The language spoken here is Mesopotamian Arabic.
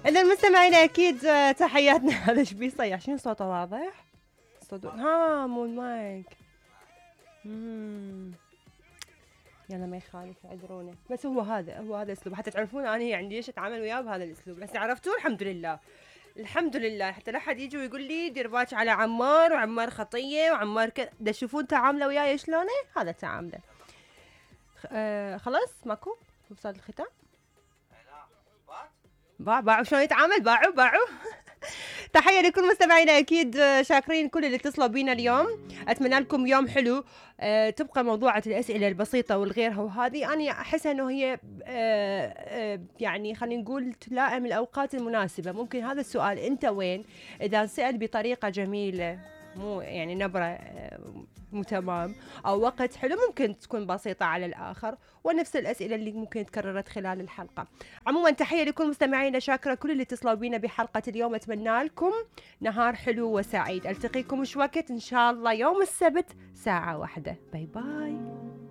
إذا المستمعين أكيد تحياتنا. هذا ايش بيصيح؟ شنو صوته واضح؟ صوته مو المايك. يلا ما يخالف اعذرونا، بس هو هذا اسلوب حتى تعرفون انا يعني ليش اتعامل وياه بهذا الاسلوب. بس عرفتوه الحمد لله حتى لا حد يجي ويقول لي دير بالك على عمار وعمار خطيه وعمار دا تشوفون تعامله وياي شلونه، هذا تعامله. خلاص ماكو وصل الختام. باعوا شلون يتعامل، باعوا. تحية لكل مستمعينا أكيد، شاكرين كل اللي اتصلوا بينا اليوم. أتمنى لكم يوم حلو. تبقى موضوعة الأسئلة البسيطة والغيرها، وهذه أنا أحس أنه هي يعني خلينا نقول تلائم الأوقات المناسبة. ممكن هذا السؤال أنت وين إذا سأل بطريقة جميلة، مو يعني نبرة مو تمام أو وقت حلو، ممكن تكون بسيطة على الآخر، ونفس الأسئلة اللي ممكن تكررت خلال الحلقة. عموما تحية لكل مستمعينا، شاكرة كل اللي اتصلوا بينا بحلقة اليوم. أتمنى لكم نهار حلو وسعيد. ألتقيكم مش وقت إن شاء الله يوم السبت 1:00. باي باي.